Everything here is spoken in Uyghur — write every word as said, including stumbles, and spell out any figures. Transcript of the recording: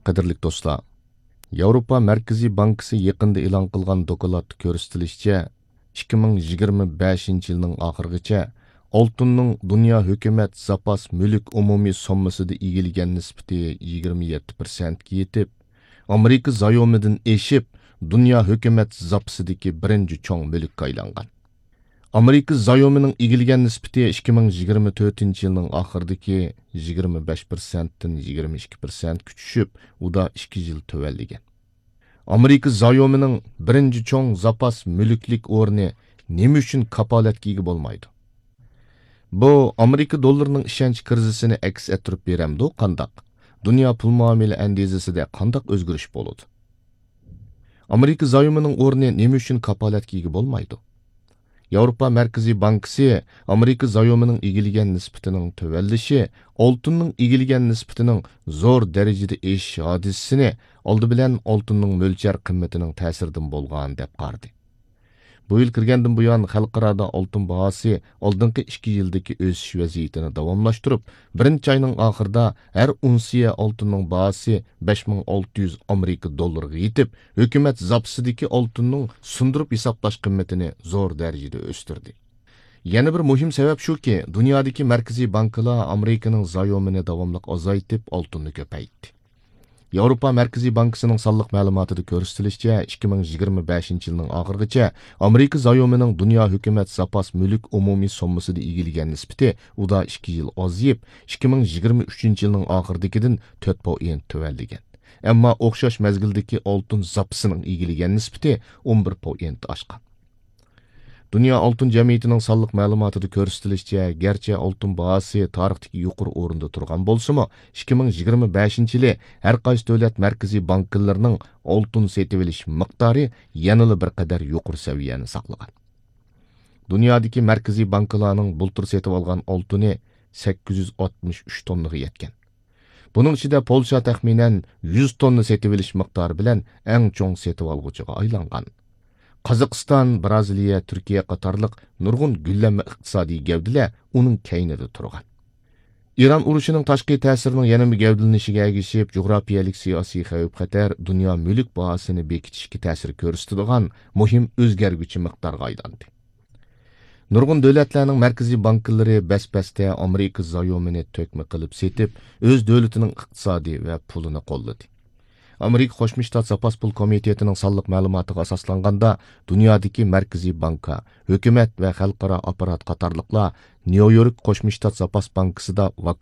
قەدىرلىك دوستلار، ياۋروپا مەركىزىي بانكىسى يېقىندا ئېلان قىلغان دوكلاتتا كۆرسىتىلىشىچە، ئىككى مىڭ يىگىرمە بەشىنچى يىلنىڭ ئاخىرىغىچە ئالتۇننىڭ دۇنيا ھۆكۈمەت زاپاس مۈلۈك ئومۇمىي سوممىسىدا ئىگىلىگەن نىسبىتى يىگىرمە يەتتە پىرسەنتكە يېتىپ، ئامېرىكا زايومىدىن ئېشىپ، دۇنيا ھۆكۈمەت زاپىسىدىكى بىرىنچى چوڭ مۈلۈككە ئايلانغان. ئامېرىكا زايومىنىڭ ئىگىلىگەن نىسبىتى ئىككى مىڭ يىگىرمە تۆتىنچى يىلنىڭ ئاخىرىدىكى يىگىرمە بەش پىرسەنتتىن يىگىرمە ئىككى پىرسەنتكە چۈشۈپ، ئۇدا ئىككى يىل تۆۋەنلىگەن. ئامېرىكا زايومىنىڭ بىرىنچى چوڭ زاپاس مۈلۈكلۈك ئورنى نېمە ئۈچۈن كاپالەتكە ئىگە بولمايدۇ؟ بۇ ئامېرىكا دوللىرىنىڭ ئىشەنچ كىرىزىسىنى ئەكس ئەتتۈرۈپ بېرەمدۇ قانداق؟ دۇنيا پۇل مۇئامىلە ئەندىزىسىدە قانداق ئۆزگىرىش بولىدۇ؟ ئامېرىكا زايومىنىڭ ئورنى نېمە ئۈچۈن كاپالەتكە ئىگە بولمايدۇ؟ ياۋروپا مەركىزىي بانكىسى ئامېرىكا زايومىنىڭ ئىگىلىگەن نىسبىتىنىڭ تۆۋەنلىشى ئالتۇننىڭ ئىگىلىگەن نىسبىتىنىڭ زور دەرىجىدە ئېشىش ھادىسىسىنى ئالدى بىلەن ئالتۇننىڭ مۆلچەر قىممىتىنىڭ تەسىرىدىن بولغان دەپ قارىدى. بۇ يىل كىرگەندىن بۇيان، خەلقئارادا ئالتۇن باھاسى ئالدىنقى ئىككى يىلدىكى ئۆسۈش ۋەزىيىتىنى داۋاملاشتۇرۇپ، بىرىنچى ئاينىڭ ئاخىرىدا ھەر ئۇنسىيە ئالتۇننىڭ باھاسى بەش مىڭ ئالتە يۈز ئامېرىكا دوللىرىغا يېتىپ، ھۆكۈمەت زاپىسىدىكى ئالتۇننىڭ سۇندۇرۇپ ھېسابلاش قىممىتىنى زور دەرىجىدە ئۆستۈردى. يەنە بىر مۇھىم سەۋەب شۇكى، دۇنيادىكى مەركىزىي بانكىلار ئامېرىكىنىڭ زايومىنى داۋاملىق ئازايتىپ، ئالتۇننى كۆپەيتتى. ياۋروپا مەركىزىي بانكىسىنىڭ سانلىق مەلۇماتىدا كۆرسىتىلىشىچە، ئىككى مىڭ يىگىرمە بەشىنچى يىلنىڭ ئاخىرىغىچە ئامېرىكا زايومىنىڭ دۇنيا ھۆكۈمەت زاپاس مۈلۈك ئومۇمىي سوممىسىدا ئىگىلىگەن نىسبىتى ئۇدا ئىككى يىل ئازىيىپ، ئىككى مىڭ يىگىرمە ئۈچىنچى يىلنىڭ ئاخىرىدىكىدىن تۆت پوئىنت تۆۋەنلىگەن. ئەمما ئوخشاش مەزگىلدىكى ئالتۇن زاپىسىنىڭ ئىگىلىگەن نىسبىتى ئون بىر پوئىنت ئاشقان. دۇنيا ئالتۇن جەمئىيىتىنىڭ سانلىق مەلۇماتىدا كۆرسىتىلىشىچە، گەرچە ئالتۇن باھاسى تارىختىكى يۇقىرى ئورۇندا تۇرغان بولسىمۇ، ئىككى مىڭ يىگىرمە بەشىنچى يىلى ھەر قايسى دۆلەت مەركىزىي بانكىلىرىنىڭ ئالتۇن سېتىۋېلىش مىقدارى يەنىلا بىر قەدەر يۇقىرى سەۋىيەنى ساقلىغان. دۇنيادىكى مەركىزىي بانكىلارنىڭ بۇلتۇر سېتىۋالغان ئالتۇنى سەككىز يۈز ئاتمىش ئۈچ توننىغا يەتكەن. بۇنىڭ ئىچىدە پولشا تەخمىنەن يۈز توننا سېتىۋېلىش مىقدارى بىلەن ئەڭ چوڭ سېتىۋالغۇچىغا ئايلانغان. قازاقىستان، بىرازىلىيە، تۈركىيە قاتارلىق نۇرغۇن گۈللەنمە ئىقتىسادىي گەۋدىلەر ئۇنىڭ كەينىدە تۇرغان. ئىران ئۇرۇشىنىڭ تاشقى تەسىرىنىڭ يەنىمۇ گەۋدىلىنىشىگە ئەگىشىپ، جۇغراپىيەلىك سىياسىي خەۋپ-خەتەر دۇنيا مۈلۈك باھاسىنى بېكىتىشكە تەسىر كۆرسىتىدىغان مۇھىم ئۆزگەرگۈچى مىقدارغا ئايلاندى. نۇرغۇن دۆلەتلەرنىڭ مەركىزىي بانكىلىرى بەس-بەستە ئامېرىكا زايومىنى تۆكمە قىلىپ سېتىپ، ئۆز دۆلىتىنىڭ ئىقتىسادى ۋە پۇلىنى قوللىدى. ئامېرىكا قوشما شتات زاپاس پۇل كومىتېتىنىڭ سانلىق مەلۇماتىغا ئاساسلانغاندا، دۇنيادىكى مەركىزىي بانكا، ھۆكۈمەت ۋە خەلقئارا ئاپپارات قاتارلىقلار نيۇ يورك قوشما شتات زاپاس بانكىسىدا